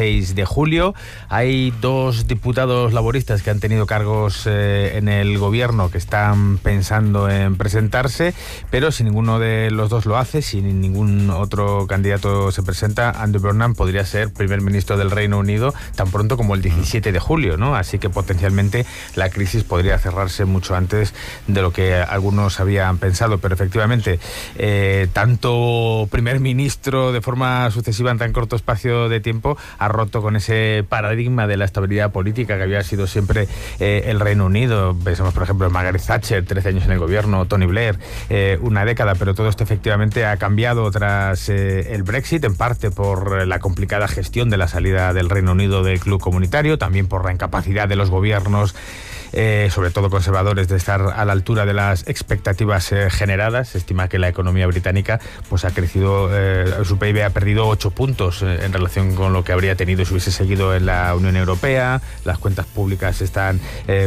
16 de julio. Hay 2 diputados laboristas que han tenido cargos en el gobierno que están pensando en presentarse, pero si ninguno de los 2 lo hace, si ningún otro candidato se presenta, Andy Burnham podría ser primer ministro del Reino Unido tan pronto como el 17 de julio, ¿no? Así que potencialmente la crisis podría cerrarse mucho antes de lo que algunos habían pensado, pero efectivamente tanto primer ministro de forma sucesiva en tan corto espacio de tiempo ha roto con ese paradigma de la estabilidad política que había sido siempre el Reino Unido. Pensamos, por ejemplo, en Margaret Thatcher, 13 años en el gobierno, Tony Blair, una década, pero todo esto efectivamente ha cambiado tras el Brexit, en parte por la complicada gestión de la salida del Reino Unido del club comunitario, también por la incapacidad de los gobiernos, sobre todo conservadores, de estar a la altura de las expectativas generadas. Se estima que la economía británica pues ha crecido, su PIB ha perdido 8 puntos en relación con lo que habría tenido si hubiese seguido en la Unión Europea. Las cuentas públicas están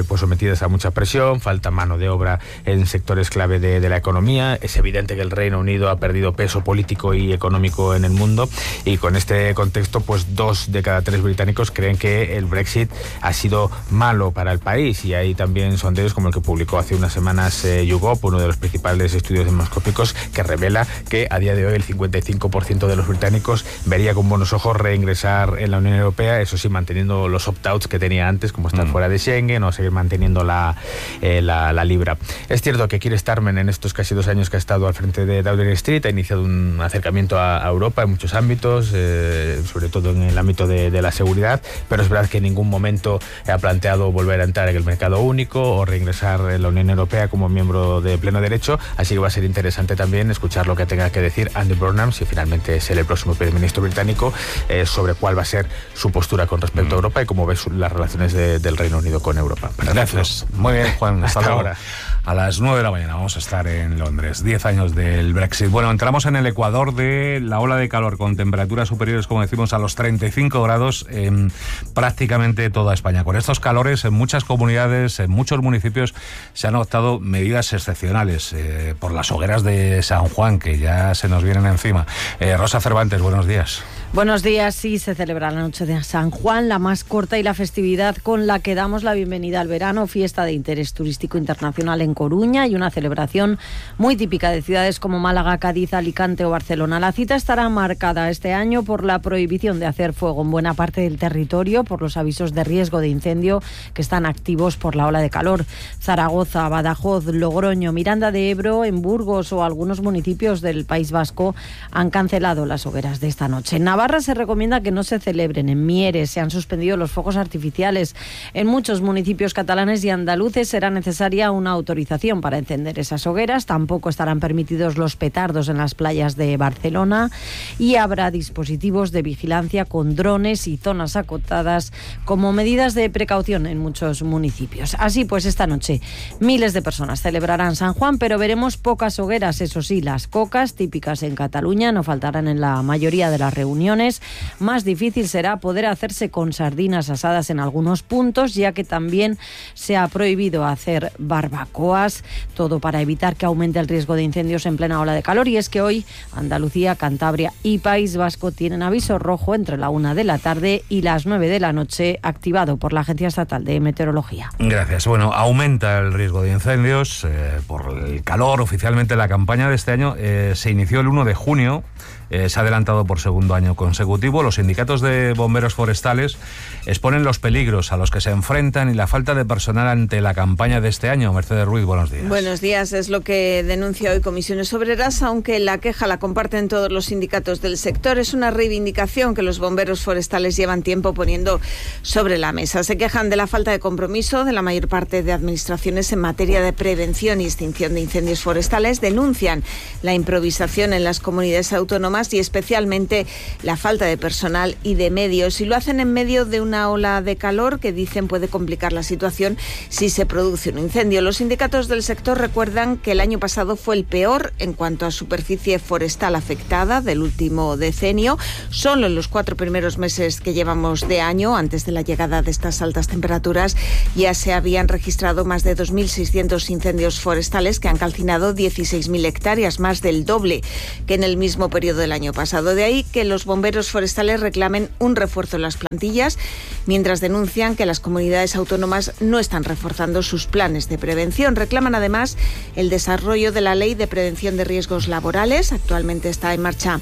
pues sometidas a mucha presión, falta mano de obra en sectores clave de la economía. Es evidente que el Reino Unido ha perdido peso político y económico en el mundo, y con este contexto pues 2 de cada 3 británicos creen que el Brexit ha sido malo para el país. Y hay también sondeos como el que publicó hace unas semanas YouGov, uno de los principales estudios demoscópicos, que revela que a día de hoy el 55% de los británicos vería con buenos ojos reingresar en la Unión Europea, eso sí, manteniendo los opt-outs que tenía antes, como estar fuera de Schengen o seguir manteniendo la libra. Es cierto que Keir Starmer, en estos casi 2 años que ha estado al frente de Downing Street, ha iniciado un acercamiento a Europa en muchos ámbitos, sobre todo en el ámbito de la seguridad, pero es verdad que en ningún momento ha planteado volver a entrar en el mercado único o reingresar en la Unión Europea como miembro de pleno derecho, así que va a ser interesante también escuchar lo que tenga que decir Andy Burnham, si finalmente es el próximo primer ministro británico, sobre cuál va a ser su postura con respecto a Europa y cómo ve las relaciones del Reino Unido con Europa. Gracias. Muy bien, Juan. Hasta ahora. A las 9 de la mañana vamos a estar en Londres, 10 años del Brexit. Bueno, entramos en el ecuador de la ola de calor con temperaturas superiores, como decimos, a los 35 grados en prácticamente toda España. Con estos calores, en muchas comunidades, en muchos municipios, se han adoptado medidas excepcionales por las hogueras de San Juan, que ya se nos vienen encima. Rosa Cervantes, buenos días. Buenos días. Sí, se celebra la noche de San Juan, la más corta y la festividad con la que damos la bienvenida al verano, fiesta de interés turístico internacional en Coruña y una celebración muy típica de ciudades como Málaga, Cádiz, Alicante o Barcelona. La cita estará marcada este año por la prohibición de hacer fuego en buena parte del territorio, por los avisos de riesgo de incendio que están activos por la ola de calor. Zaragoza, Badajoz, Logroño, Miranda de Ebro, en Burgos o algunos municipios del País Vasco han cancelado las hogueras de esta noche. En Navarra se recomienda que no se celebren. En Mieres se han suspendido los fuegos artificiales. En muchos municipios catalanes y andaluces será necesaria una autorización para encender esas hogueras. Tampoco estarán permitidos los petardos en las playas de Barcelona y habrá dispositivos de vigilancia con drones y zonas acotadas como medidas de precaución en muchos municipios. Así pues, esta noche miles de personas celebrarán San Juan, pero veremos pocas hogueras. Eso sí, las cocas típicas en Cataluña no faltarán en la mayoría de las reuniones. Más difícil será poder hacerse con sardinas asadas en algunos puntos, ya que también se ha prohibido hacer barbacoas, todo para evitar que aumente el riesgo de incendios en plena ola de calor. Y es que hoy Andalucía, Cantabria y País Vasco tienen aviso rojo entre la 1 de la tarde y las 9 de la noche, activado por la Agencia Estatal de Meteorología. Gracias. Bueno, aumenta el riesgo de incendios por el calor. Oficialmente la campaña de este año se inició el 1 de junio. Se ha adelantado por segundo año consecutivo. Los sindicatos de bomberos forestales exponen los peligros a los que se enfrentan y la falta de personal ante la campaña de este año. Mercedes Ruiz, buenos días. Buenos días. Es lo que denuncia hoy Comisiones Obreras, aunque la queja la comparten todos los sindicatos del sector. Es una reivindicación que los bomberos forestales llevan tiempo poniendo sobre la mesa. Se quejan de la falta de compromiso de la mayor parte de administraciones en materia de prevención y extinción de incendios forestales. Denuncian la improvisación en las comunidades autónomas y especialmente la falta de personal y de medios, y lo hacen en medio de una ola de calor que dicen puede complicar la situación si se produce un incendio. Los sindicatos del sector recuerdan que el año pasado fue el peor en cuanto a superficie forestal afectada del último decenio. Solo en los 4 primeros meses que llevamos de año, antes de la llegada de estas altas temperaturas, ya se habían registrado más de 2.600 incendios forestales que han calcinado 16.000 hectáreas, más del doble que en el mismo periodo del del año pasado. De ahí que los bomberos forestales reclamen un refuerzo en las plantillas, mientras denuncian que las comunidades autónomas no están reforzando sus planes de prevención. Reclaman además el desarrollo de la Ley de Prevención de Riesgos Laborales. Actualmente está en marcha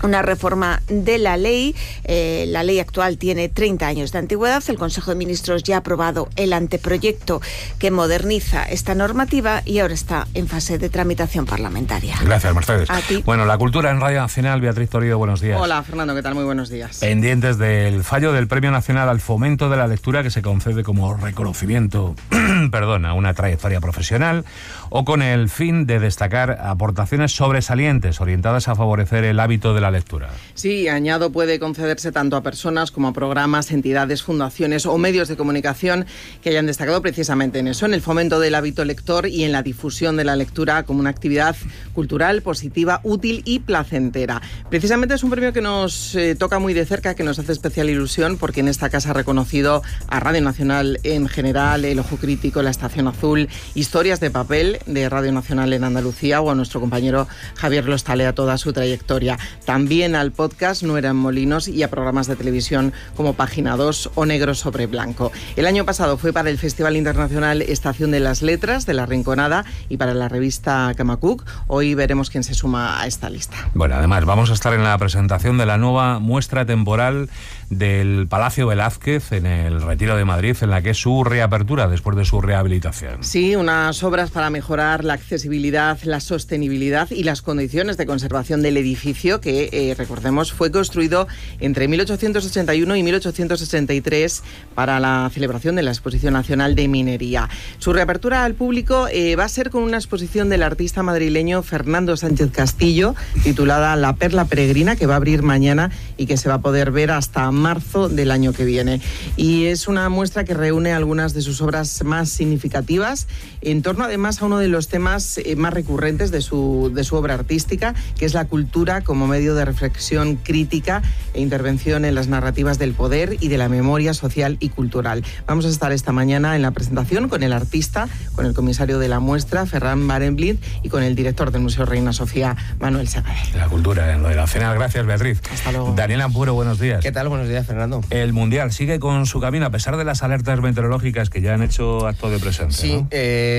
una reforma de la ley. La ley actual tiene 30 años de antigüedad. El Consejo de Ministros ya ha aprobado el anteproyecto que moderniza esta normativa y ahora está en fase de tramitación parlamentaria. Gracias, Mercedes. A ti. Bueno, la cultura en Radio Nacional. Beatriz Torrido, buenos días. Hola, Fernando, ¿qué tal? Muy buenos días. Pendientes del fallo del Premio Nacional al Fomento de la Lectura, que se concede como reconocimiento a una trayectoria profesional, o con el fin de destacar aportaciones sobresalientes orientadas a favorecer el hábito de la lectura. Sí, añado, puede concederse tanto a personas como a programas, entidades, fundaciones o medios de comunicación que hayan destacado precisamente en eso, en el fomento del hábito lector y en la difusión de la lectura como una actividad cultural, positiva, útil y placentera. Precisamente es un premio que nos toca muy de cerca, que nos hace especial ilusión, porque en esta casa ha reconocido a Radio Nacional en general, El Ojo Crítico, La Estación Azul, Historias de Papel de Radio Nacional en Andalucía, o a nuestro compañero Javier Lostalea toda su trayectoria. También al podcast No eran molinos y a programas de televisión como Página 2 o Negro sobre Blanco. El año pasado fue para el Festival Internacional Estación de las Letras de La Rinconada y para la revista Camacuc. Hoy veremos quién se suma a esta lista. Bueno, además vamos a estar en la presentación de la nueva muestra temporal del Palacio Velázquez en el Retiro de Madrid, en la que es su reapertura después de su rehabilitación. Sí, unas obras para mejorar la accesibilidad, la sostenibilidad y las condiciones de conservación del edificio que, recordemos, fue construido entre 1881 y 1863 para la celebración de la Exposición Nacional de Minería. Su reapertura al público va a ser con una exposición del artista madrileño Fernando Sánchez Castillo, titulada La Perla Peregrina, que va a abrir mañana y que se va a poder ver hasta marzo del año que viene. Y es una muestra que reúne algunas de sus obras más significativas, en torno además a uno de los temas más recurrentes de su obra artística, que es la cultura como medio de reflexión crítica e intervención en las narrativas del poder y de la memoria social y cultural. Vamos a estar esta mañana en la presentación con el artista, con el comisario de la muestra, Ferran Barenblind, y con el director del Museo Reina Sofía, Manuel Segade. La cultura en lo de la cena. Gracias, Beatriz. Hasta luego. Daniel Ampuro, buenos días. ¿Qué tal? Buenos días, Fernando. El Mundial sigue con su camino a pesar de las alertas meteorológicas que ya han hecho acto de presencia. Sí, ¿no?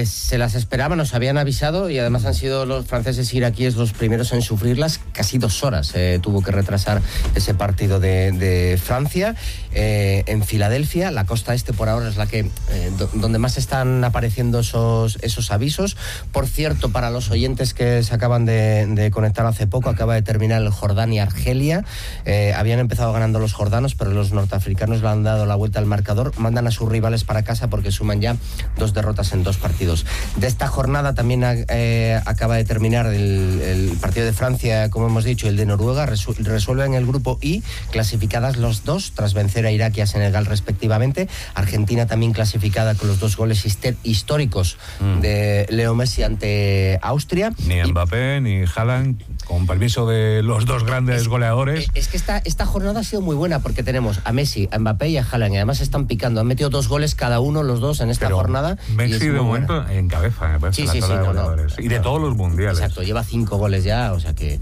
Se las esperaban, nos habían avisado, y además han sido los franceses e iraquíes los primeros en sufrirlas. Casi 2 horas tuvo que retrasar ese partido de Francia. En Filadelfia, la costa este por ahora es la que donde más están apareciendo esos avisos. Por cierto, para los oyentes que se acaban de conectar hace poco, acaba de terminar el Jordania-Argelia. Habían empezado ganando los jordanos, pero los norteafricanos le han dado la vuelta al marcador. Mandan a sus rivales para casa porque suman ya 2 derrotas en 2 partidos. De esta jornada también acaba de terminar el partido de Francia, como hemos dicho, el de Noruega. Resuelven el grupo I, clasificadas los dos tras vencer a Irak y a Senegal respectivamente. Argentina también clasificada con los 2 goles históricos de Leo Messi ante Austria. Ni Mbappé ni Haaland, con permiso de los 2 grandes goleadores. Es que esta jornada ha sido muy buena porque tenemos a Messi, a Mbappé y a Haaland, y además están picando. Han metido 2 goles cada uno, los dos, en esta jornada. Messi de momento encabeza, me parece, sí, la tabla de goleadores. Y de todos los mundiales. Exacto, lleva 5 goles ya, o sea que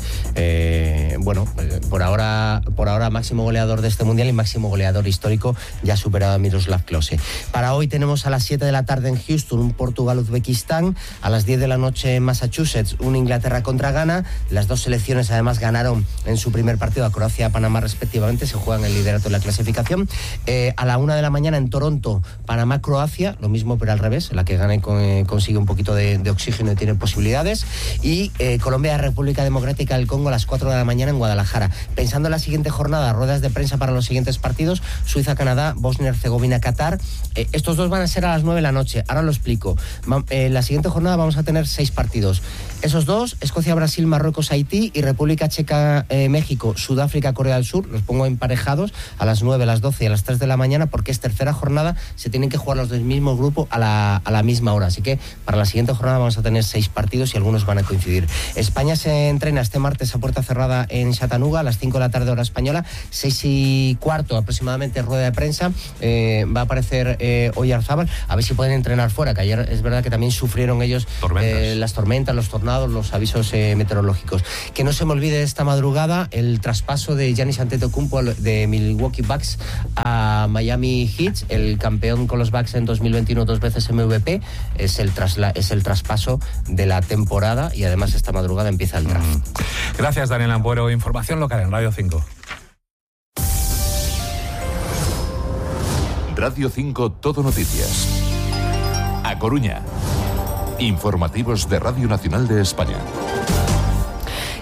por ahora máximo goleador de este mundial y máximo goleador histórico, ya superado a Miroslav Klose. Para hoy tenemos a las 7 de la tarde en Houston un Portugal-Uzbekistán, a las 10 de la noche en Massachusetts un Inglaterra contra Ghana. Las 2 selecciones además ganaron en su primer partido a Croacia y a Panamá respectivamente, se juegan el liderato de la clasificación. A la 1 de la mañana en Toronto, Panamá-Croacia, lo mismo pero al revés, la que gane consigue un poquito de oxígeno y tiene posibilidades. Y Colombia-República Democrática del Congo a las 4 de la mañana en Guadalajara. Pensando en la siguiente jornada, ruedas de prensa para los siguientes partidos: Suiza-Canadá, Bosnia-Herzegovina-Qatar. Estos 2 van a ser a las 9 de la noche. Ahora lo explico. En la siguiente jornada vamos a tener 6 partidos. Esos 2, Escocia-Brasil, Marruecos-Haití y República Checa-México, Sudáfrica-Corea del Sur. Los pongo emparejados. sábados a las 9, a las 12 y a las 3 de la mañana, porque es tercera jornada, se tienen que jugar los del mismo grupo a la misma hora. Así que para la siguiente jornada vamos a tener 6 partidos y algunos van a coincidir. España se entrena este martes a puerta cerrada en Chattanooga a las 5 de la tarde hora española, 6:15 aproximadamente rueda de prensa. Va a aparecer Oyarzábal, a ver si pueden entrenar fuera, que ayer es verdad que también sufrieron ellos las tormentas, los tornados, los avisos meteorológicos. Que no se me olvide esta madrugada el traspaso de Giannis Antetokounmpo de Milwaukee Bucks a Miami Heat, el campeón con los Bucks en 2021, 2 veces MVP, es el traspaso de la temporada y además esta madrugada empieza el draft. Gracias, Daniel Ampuero. Información local en Radio 5. Radio 5 Todo Noticias. A Coruña. Informativos de Radio Nacional de España.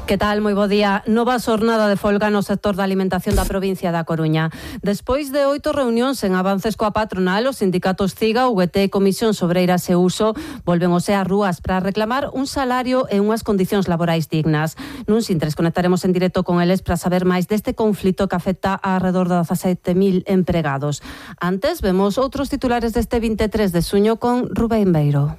Que tal? Moi bo día. Nova xornada de folga no sector da alimentación da provincia da Coruña. Despois de 8 reunións en avances coa patronal, os sindicatos CIGA, UGT e Comisión Sobreiras e Uso volven ás rúas para reclamar un salario e unhas condicións laborais dignas. Nun Sintres conectaremos en directo con eles para saber máis deste conflito que afecta a alrededor de 17.000 empregados. Antes, vemos outros titulares deste 23 de xuño con Rubén Beiro.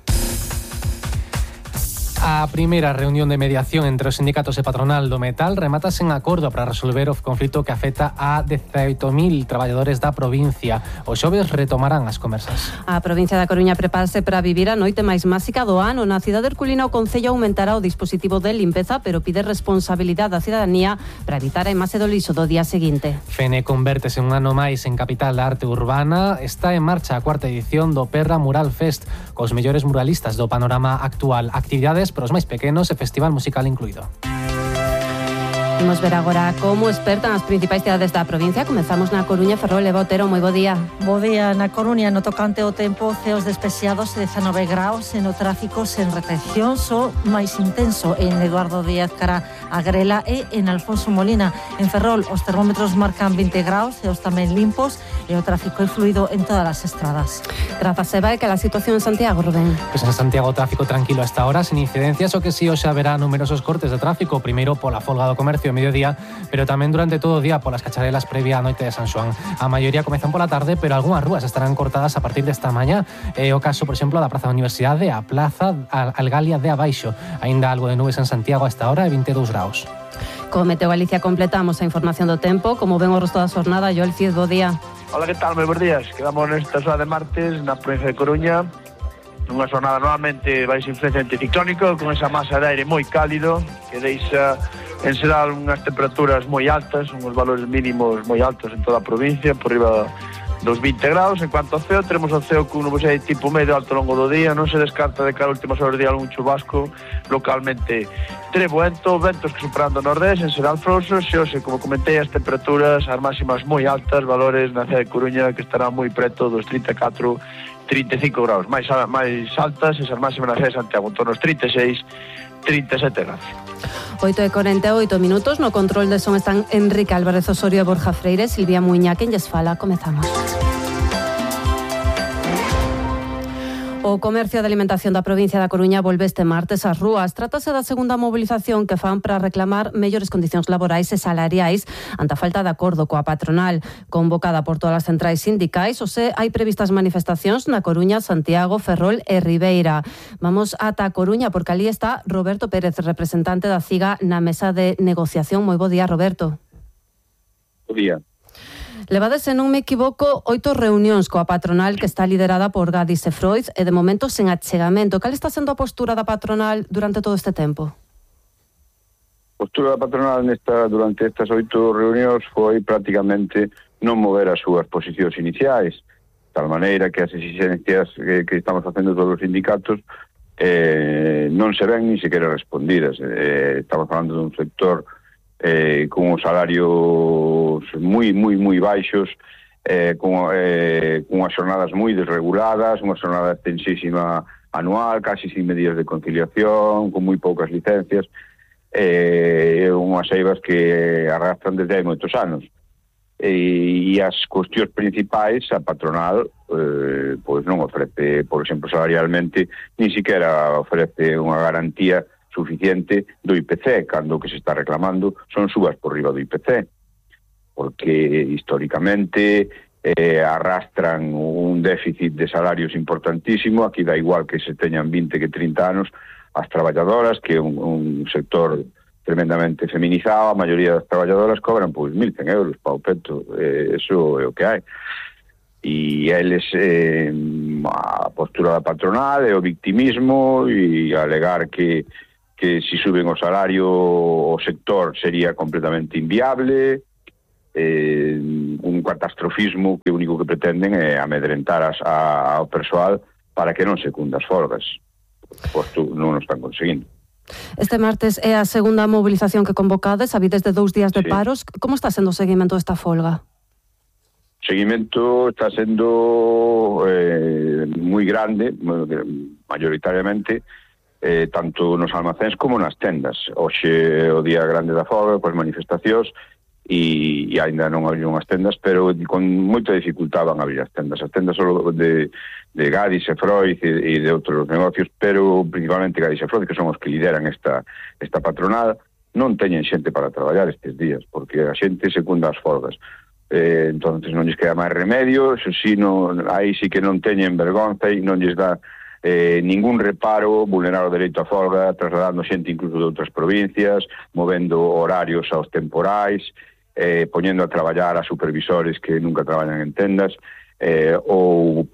A primeira reunión de mediación entre os sindicatos e patronal do metal remátase en acordo para resolver o conflito que afecta a 18.000 traballadores da provincia. Os xoves retomarán as conversas. A provincia da Coruña prepárase para vivir a noite máis máxica do ano. Na cidade herculina o Concello aumentará o dispositivo de limpeza, pero pide responsabilidade á cidadanía para evitar a imaxe do lixo do día seguinte. Fene convértese un ano máis en capital da arte urbana. Está en marcha a 4ª edición do Perra Mural Fest, cos mellores muralistas do panorama actual. Actividades para os máis pequenos e festival musical incluído. Imos ver agora como espertan as principais cidades da provincia. Comezamos na Coruña. Ferrol e Botero, moi bo día. Bo día. Na Coruña, no tocante ao tempo, ceos despexados, 19 graus, e no tráfico sen retención, só máis intenso en Eduardo Díaz cara a Grela e en Alfonso Molina. En Ferrol, os termómetros marcan 20 graus, ceos tamén limpos, e o tráfico é fluido en todas as estradas. Grazas, Eva. E que a situación en Santiago, Rubén? Pois en Santiago, tráfico tranquilo hasta ahora, sin incidencias, o que sí hoxe haberá numerosos cortes de tráfico, primeiro pola folga do comercio a mediodía, pero tamén durante todo o día polas cacharelas previa á noite de San Xoán. A maioría comezan pola tarde, pero algunhas rúas estarán cortadas a partir desta mañá. É o caso, por exemplo, da Praza da Universidade, a Plaza Algalia de Abaixo. Aínda algo de nubes en Santiago a esta hora e 22 graus. Co Meteo Galicia completamos a información do tempo. Como ven o resto da xornada, Joel Cid, bo día. Hola, que tal? Moi bons días. Quedamos nesta xornada de martes na provincia de Coruña, nunha xornada normalmente baixo influencia anticiclónico, con esa masa de aire moi cálido que deixa en xeral unhas temperaturas moi altas, uns valores mínimos moi altos en toda a provincia, por riba dos 20 graus. En cuanto ao ceo, teremos o ceo con nubosidade tipo medio alto ao longo do día. Non se descarta de cara a últimas horas do día algún chubasco, localmente trebuento, ventos que superando o nordés, en xeral frouxos, e hoxe, como comentei, as temperaturas, as máximas moi altas, valores na cidade de Coruña que estarán moi preto dos 34, 35 graus. Máis altas esas máximas na cidade de Santiago, en torno aos 36, 37 graus. 8:48 minutos. No control de son están Enrique Álvarez Osorio e Borja Freire. Silvia Muiña, quen lles fala. Comezamos. O comercio de alimentación da provincia da Coruña volve este martes ás rúas. Trátase da segunda mobilización que fan para reclamar mellores condicións laborais e salariais ante a falta de acordo coa patronal. Convocada por todas as centrais sindicais, hai previstas manifestacións na Coruña, Santiago, Ferrol e Ribeira. Vamos ata a Coruña porque ali está Roberto Pérez, representante da CIGA na mesa de negociación. Moi bo día, Roberto. Bo día. Levades, se non me equivoco, 8 reunións coa patronal que está liderada por Gadis e Freud e de momento sen achegamento. Cal está sendo a postura da patronal durante todo este tempo? A postura da patronal durante estas 8 reunións foi prácticamente non mover as súas posicións iniciais, tal maneira que as exigencias que estamos facendo todos os sindicatos non se ven ni sequera respondidas. Estamos falando dun sector con os salarios moi baixos, con unhas xornadas moi desreguladas, unha xornada extensísima anual, casi sin medidas de conciliación, con moi poucas licencias, unhas eivas que arrastran desde hai moitos anos. E as cuestións principais, a patronal pois non ofrece, por exemplo, salarialmente, ni siquiera ofrece unha garantía suficiente do IPC, cando o que se está reclamando son subas por riba do IPC. porque históricamente arrastran un déficit de salarios importantísimo. Aquí da igual que se teñan 20 que 30 anos as traballadoras, que é un sector tremendamente feminizado. A maioría das traballadoras cobran pois 1.100 euros para o peto, eso é o que hai. E eles, a postura da patronal é o victimismo e alegar que si suben o salario o sector sería completamente inviable, un catastrofismo que o único que pretenden é amedrentar ao persoal para que non secunda as folgas, posto non o están conseguindo. Este martes é a segunda movilización que convocades, habides de 2 días de paros. Como está sendo o seguimento desta folga? O seguimento está sendo moi grande, maioritariamente, tanto nos almacéns como nas tendas. Hoxe o día grande da folga, coas manifestacións, e ainda non abriron as tendas, pero con moita dificultad van a abrir as tendas solo de Gadis e Freud e de outros negocios, pero principalmente Gadis e Freud, que son os que lideran esta patronal, non teñen xente para traballar estes días, porque a xente secunda as folgas. Entonces non lles queda máis remedio, aí sí que non teñen vergonza e non lles dá ningún reparo vulnerar o dereito a folga, trasladando xente incluso de outras provincias, movendo horarios aos temporais, poñendo a traballar a supervisores que nunca traballan en tendas, ou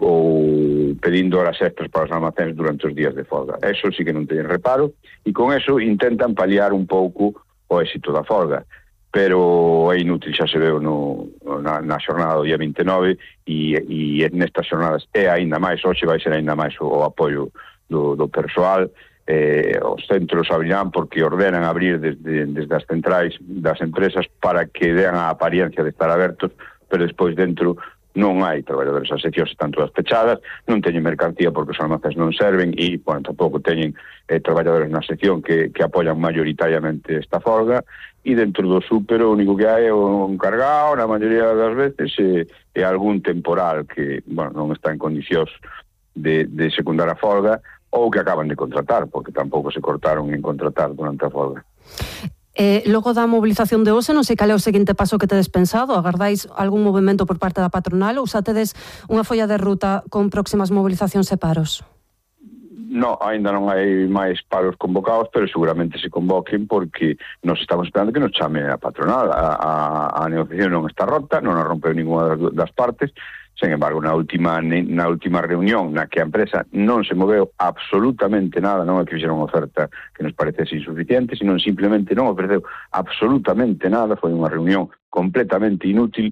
pedindo horas extras para os almacéns durante os días de folga. Eso sí que non teñen reparo, e con eso intentan paliar un pouco o éxito da folga, pero é inútil, xa se veu na xornada do día 29, e nestas xornadas é aínda máis, hoxe vai ser aínda máis o apoio do persoal. Os centros abrirán porque ordenan abrir desde as centrais das empresas para que dean a apariencia de estar abertos, pero despois dentro non hai traballadores. As seccións están todas pechadas, non teñen mercancía porque os almacéns non serven, e tampouco teñen traballadores na sección que apoian maioritariamente esta folga, e dentro do súper o único que hai é un cargado, na maioría das veces, e algún temporal que non está en condicións de secundar a folga, ou que acaban de contratar, porque tampouco se cortaron en contratar durante a folga. Logo da movilización de hoxe, non sei cal é o seguinte paso que tedes pensado. Agardáis algún movimento por parte da patronal ou xa tedes unha folla de ruta con próximas movilizacións e paros? No, ainda non hai máis paros convocados, pero seguramente se convoquen porque nos estamos esperando que nos chame a patronal. A negociación non está rota, non a rompeu ninguna das partes. Sen embargo, na última reunión na que a empresa non se moveu absolutamente nada, non é que fixeron unha oferta que nos parecese insuficiente, sino simplemente non ofreceu absolutamente nada. Foi unha reunión completamente inútil,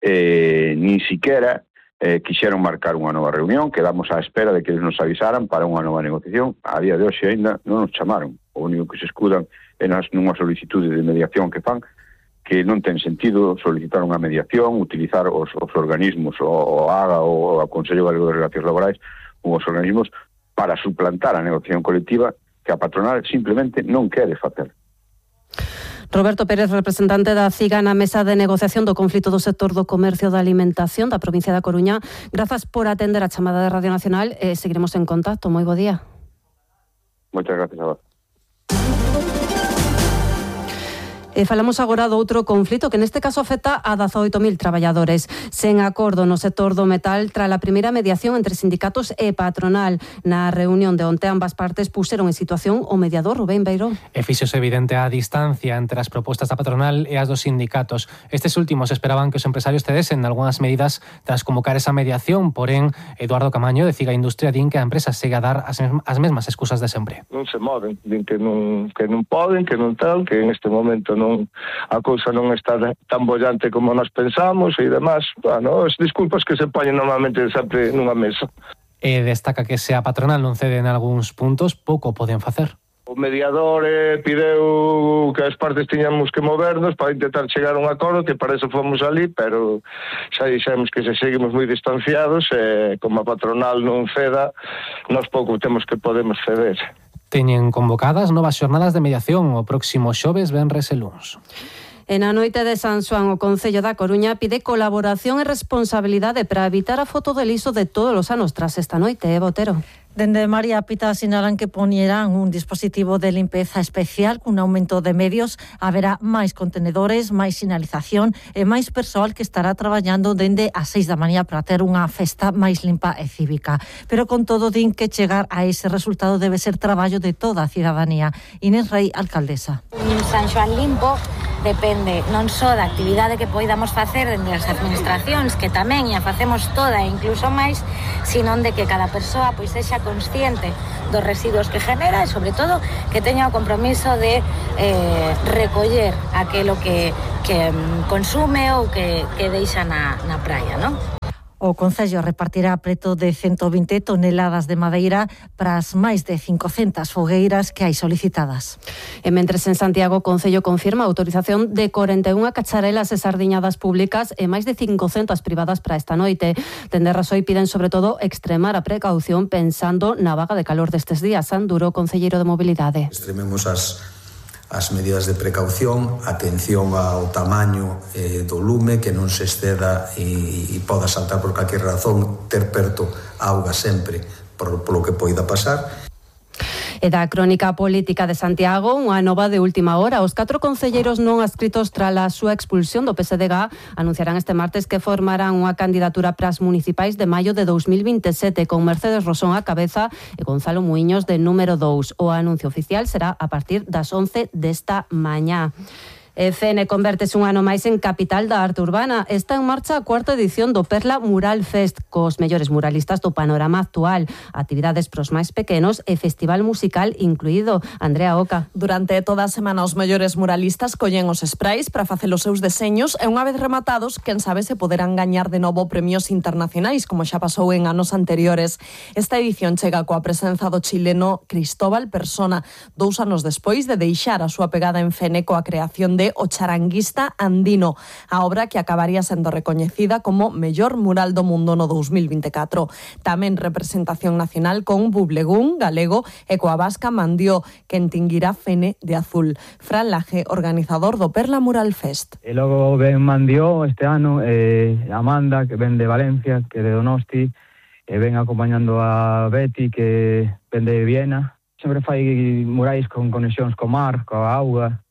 nin siquiera quixeron marcar unha nova reunión. Quedamos á espera de que eles nos avisaran para unha nova negociación. A día de hoxe ainda non nos chamaron. O único que se escudan é nunha solicitude de mediación que fan, que non ten sentido solicitar unha mediación, utilizar os organismos, o AGA ou o Consello Galego de Relacións Laborais, os organismos para suplantar a negociación colectiva que a patronal simplemente non quere facer. Roberto Pérez, representante da CIGA na mesa de negociación do conflito do sector do comercio da alimentación da provincia da Coruña. Grazas por atender a chamada de Radio Nacional. Seguiremos en contacto. Moi bo día. Moitas gracias a vos. Falamos agora do outro conflito que neste caso afecta a 18.000 traballadores. Sen acordo no sector do metal tras a primeira mediación entre sindicatos e patronal. Na reunión de onte ambas partes puseron en situación o mediador Rubén Beiró. E fíxose evidente a distancia entre as propostas da patronal e as dos sindicatos. Estes últimos esperaban que os empresarios cedesen algunhas medidas tras convocar esa mediación, porén Eduardo Camaño de CIGA Industria din que a empresa segue a dar as mesmas excusas de sempre. Non se moven, din que non poden, que non tal, que en este momento a cousa non está tan bollante como nós pensamos e demás. As disculpas que se poñen normalmente sempre nunha mesa. E destaca que se a patronal non cede en algúns puntos, pouco poden facer. O mediador pideu que as partes tiñamos que movernos para intentar chegar a un acordo, que para eso fomos ali, pero xa dixemos que se seguimos moi distanciados e como a patronal non ceda, nós pouco temos que podemos ceder. Teñen convocadas novas xornadas de mediación o próximo xoves, venres e luns. En a noite de San Xoán, o Concello da Coruña pide colaboración e responsabilidade para evitar a foto de liso de todos os anos tras esta noite, Botero. Dende María Pita sinalan que poñerán un dispositivo de limpeza especial cun aumento de medios. Haberá máis contenedores, máis sinalización e máis persoal que estará traballando dende as 6 da mañá para ter unha festa máis limpa e cívica. Pero con todo din que chegar a ese resultado debe ser traballo de toda a cidadanía. Inés Rey, alcaldesa. San Xoán limpo depende non só da actividade que poidamos facer dende as administracións, que tamén a facemos toda e incluso máis, sino de que cada persoa pois sexa consciente dos residuos que genera e, sobre todo, que teña o compromiso de recoller aquilo que consume ou que deixa na praia, non? O Concello repartirá preto de 120 toneladas de madeira para as máis de 500 fogueiras que hai solicitadas. E mentres en Santiago, o Concello confirma a autorización de 41 cacharelas e sardiñadas públicas e máis de 500 privadas para esta noite. Dende Rasoy piden, sobre todo, extremar a precaución pensando na vaga de calor destes días. Sanduro, concelleiro de Mobilidade. Extrememos as medidas de precaución, atención ao tamaño do lume, que non se exceda e poda saltar por calquer razón, ter perto auga sempre polo que poida pasar. E da crónica política de Santiago, unha nova de última hora. Os 4 concelleiros non adscritos tras a súa expulsión do PSDG anunciarán este martes que formarán unha candidatura para as municipais de maio de 2027 con Mercedes Rosón á cabeza e Gonzalo Muiños de número 2. O anuncio oficial será a partir das 11 desta mañá. Fene convértese un ano máis en capital da arte urbana. Está en marcha a 4ª edición do Perla Mural Fest, cos mellores muralistas do panorama actual, actividades pros máis pequenos e festival musical incluído. Andrea Oca. Durante toda a semana os mellores muralistas collen os sprays para facer os seus deseños e unha vez rematados, quen sabe se poderán gañar de novo premios internacionais, como xa pasou en anos anteriores. Esta edición chega coa presenza do chileno Cristóbal Persona, 2 anos despois de deixar a súa pegada en Fene coa creación de O Charanguista Andino, a obra que acabaría sendo recoñecida como mellor mural do mundo no 2024. Tamén representación nacional con Bublegún, galego, e coa vasca Mandió, que entinguirá Fene de azul. Fran Laje, organizador do Perla Mural Fest. E logo ven Mandió este ano, Amanda, que ven de Valencia, que de Donosti, e ven acompañando a Betty, que ven de Viena. Sempre fai murais con conexións co mar, coa auga.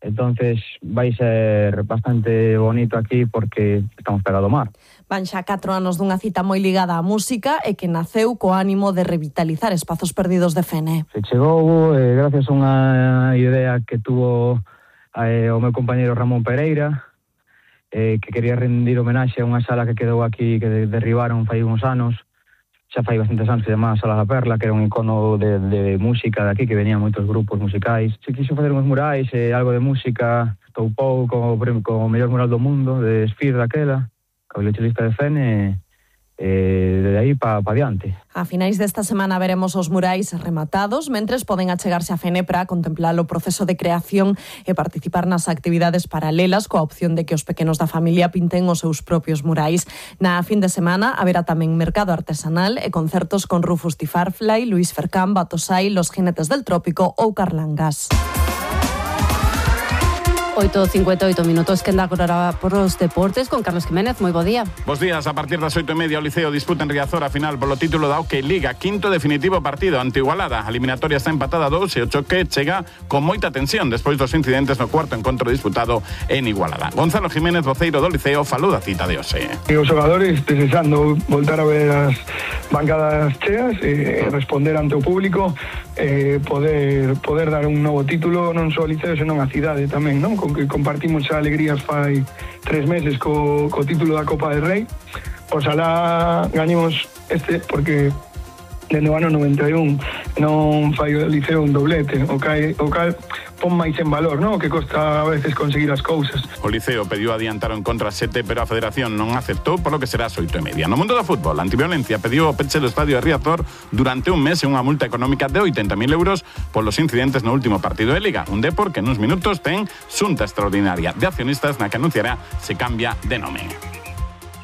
Entonces vai ser bastante bonito aquí porque estamos pegado ao mar. Van xa 4 anos dunha cita moi ligada á música e que naceu co ánimo de revitalizar espazos perdidos de Fene. Se chegou gracias a unha idea que tuvo o meu compañeiro Ramón Pereira, que quería rendir homenaxe a unha sala que quedou aquí, que derribaron fai uns anos. Xa fai bastantes anos que se chamaba Sala da Perla, que era un icono de música de aquí, que venían moitos grupos musicais. Se quixo facer uns murais, algo de música, toupou como mellor mural do mundo, de Sphere daquela, co violonchelista de Fene, de aí para adiante. A finais desta semana veremos os murais rematados, mentres poden achegarse a Fene para contemplar o proceso de creación e participar nas actividades paralelas coa opción de que os pequenos da familia pinten os seus propios murais. Na fin de semana haberá tamén mercado artesanal e concertos con Rufus T. Farfly, Luis Fercán, Batosai, Los Jinetes del Trópico ou Carlangas. 8:58 minutos, que anda agora por os deportes con Carlos Jiménez. Moi bo día. Bos días. A partir das 8:30 o Liceo disputa en Riazor a final polo título da Hockey Liga, quinto definitivo partido ante Igualada. A eliminatoria está empatada 2 e o choque chega con moita tensión despois dos incidentes no cuarto encontro disputado en Igualada. Gonzalo Jiménez, voceiro do Liceo, falou da cita de hoxe. Os xogadores desexando voltar a ver as bancadas cheas e responder ante o público, poder dar un novo título non só ao Liceo, senón á cidade tamén, non? Con que compartimos xa alegrías fai 3 meses co título da Copa del Rei. Oxalá gañemos porque dende o ano 91 non fai o Liceo un doblete, o cal pon máis en valor, non? O que costa a veces conseguir as cousas. O Liceo pediu adiantar o encontro a 7, pero a Federación non aceptou, polo que será as 8:30. No mundo do fútbol, Antiviolencia pediu o peche do estadio de Riazor durante un mes e unha multa económica de 80.000 euros polos incidentes no último partido de Liga. Un Depor que nuns minutos ten xunta extraordinaria de accionistas na que anunciará se cambia de nome.